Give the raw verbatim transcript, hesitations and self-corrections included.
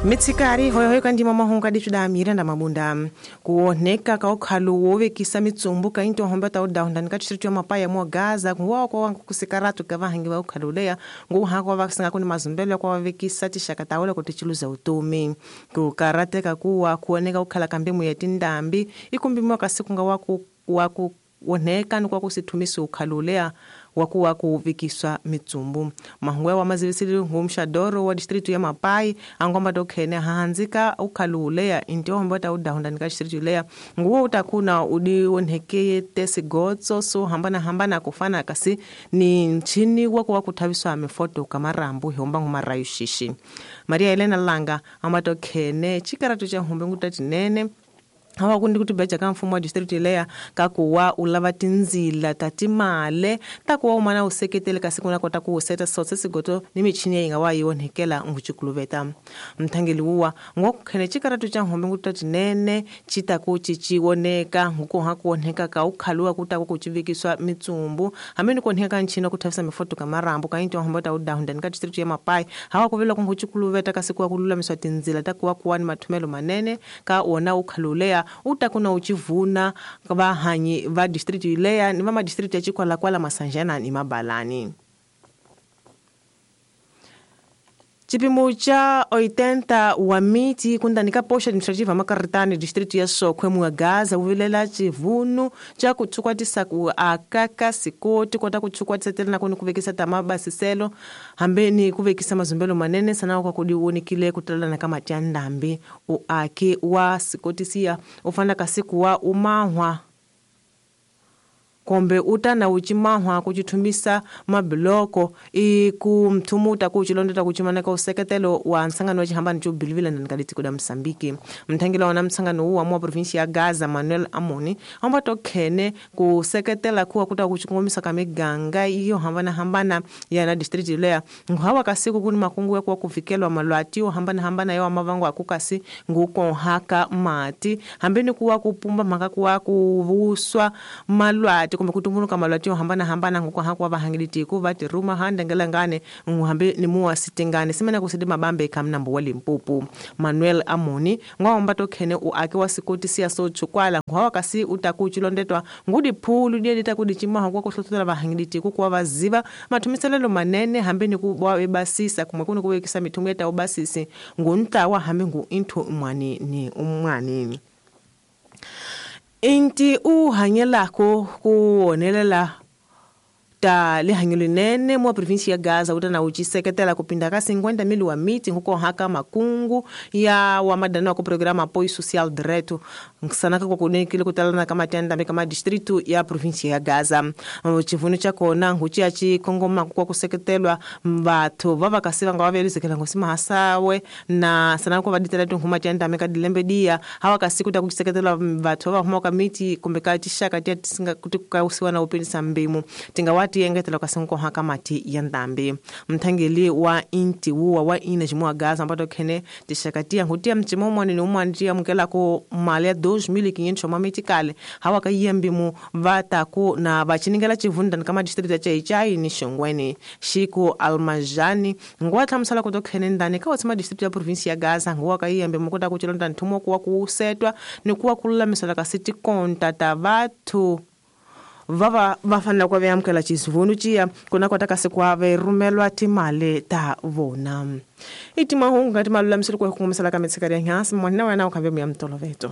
Mitsikari hoyohoyo kandima mahunga dichuda Miranda Mabunda kuoneka ka ukhalo wovekisa mitsumbu ka into homba ta udahundani ka distrito ya Mapaya mwa Gaza kuwa kwa wangu kusikaratu ka vahangi va ukhalo leya nguha kwa vasinga kuni mazumbelo kwa vekisa tixaka ta wala kutichiluza utomi kukarateka kuwa kuoneka ukhala kambemu ya tindambi ikumbimiwa kasi kunga waku waku oneka ni kwa kusithumisa ukhalo leya wakuwa kuvikiswa mitsumbu mahungwe wa mazivisili ngumshadoro wa distritu ya Mapai angomba tokhene hahanzika ukhaluleya intihombo ta udahundani ka distritu leya nguwo utakuna udionhekeye tesigotso so hambana hambana kufana kasi ni nchini wakuwa kuthaviswa mifoto kamarambu ihomba ngumarayu shishi Maria Elena Langa amba tokhene chikaratu cha humbe ngutatinene hawa kundi kuti beja ka mfumo wa district leya kakuwa ulava tinzila tatimale takuwa umana useketele kasi kuna kota kuuseta sotse sigoto ni michini yinga wa yonhekela nguchikuluveta mthangeli wuwa ngokukhene chikaratu cha nhombe ngutatinene chitaku chichioneka ngukuha kuoneka ka ukhaluwa kutaku kuchivikiswa mitsumbu hamene kuoneka nchino kuthavisa mifoto kamarambu kainto hombe ta udahundani ka district ya Mapai hawa kuvela kunguchikuluveta kasi kuwa kululamiswa tinzila takuwa kuwa ni mathumelo manene ka wona ukhaluleya utakuna uchivuna vahanyi va district leya ni va ma district ya Chikwalakwala Masanjana ni Mabalani. Chipimo cha oitenta wa miti kundanika posha administrativa Makaritani district ya Sokwe mwa Gaza uvilela chivunu cha kuchukwatisa ku akaka sikoti kota kuchukwatisa tena kuni kuvekisa tamabasiselo hambeni kuvekisa mazumbelo manene sana kwa kudionikile kutalana kama tandambi uake wa sikotisia ufana kasiku wa umahwa kombe utana uchimahwa kuchithumisa mabiloko ikumthumuta kuchilondeta kuchimaneka useketelo wa nsangano wa chihambani chobilivila ndani kuda Msambiki mthangila wana msangano uwa mwa provinsi ya Gaza Manuel Amoni amba tokhene kuseketela kuwa kuta kuchikongomisa kamiganga iyo hambana hambana ya na district leya nguhawa kasiku kuni makungu ya kuwa kuvikelwa malwati yo hambana hambana yo mavango akukasi ngukonhaka mati hambeni kuwa kupumba maka kuwa kuvuswa malwati kumbe kutumbuluka malwati hambana hambana nguko hakuwa vahangiliti ku vati ruma handengelangane nguhambe ni muwa sitingane simena kusidi mabambe kamnambo wa Limpopo Manuel Amoni ngwaomba tokhene uake wa sikoti siya so chukwala ngwawa kasi utakuchilondetwa ngudi phulu die litakudichima kwa kuhlohlotela vahangiliti ku kuwa vaziva mathumiselelo manene hambeni ku wa basisa kumwe kuni kuwekisa mithungu yeta ubasisi nguntlawa hambe ngu inthu mwani ni umwani Inti uhanyelako kuonelela ta lihanyelinene mwa provinsi ya Gaza utana uchiseketela kupinda ka cinquenta mil wa miti huko haka makungu ya wa madana ku programa apoio social direto ngisanaka kwa kunekile kutalana kama tenda kama distrito ya provinsi ya Gaza chivunu cha kona nguchi ya chikongoma kwa kuseketelwa mbathu vava kasiva nga wavelizekela ngosi mahasawe na sanaka kwa vaditela tunhuma tenda meka dilembe dia hawa kasiku ta kuseketelwa mbathu va huma ka miti kumbe ka tishaka tia tisinga kutika usiwa na upindisa mbimu tinga wati yengetela kasinko haka mati ya ndambi mthangeli wa inti wuwa wa ina jimwa Gaza ambato khene tishakatia ngutia mchimo mwana ni umwandia mukela ko mali ya dois mil quinhentos mamitikale hawa ka yembimu vataku na vachiningela chivunda kama district ya Chaichai ni Shongweni Shiko Almajani ngwa thamsala kuto khene ndani ka watsima district ya province ya Gaza ngwa ka yembe mukuta kuchilonda nthumo kuwa kusetwa ni kuwa kululamisela ka city konta ta vathu vava vafanela kwa vyamukela chizivunu chiya kuna kota kasi kwa verumelwa timale ta vona itimahungu ngati malulamiselo kwa kukumisela ka mitsikari ya nyasi mwana wena ukhambe muya mtoloveto.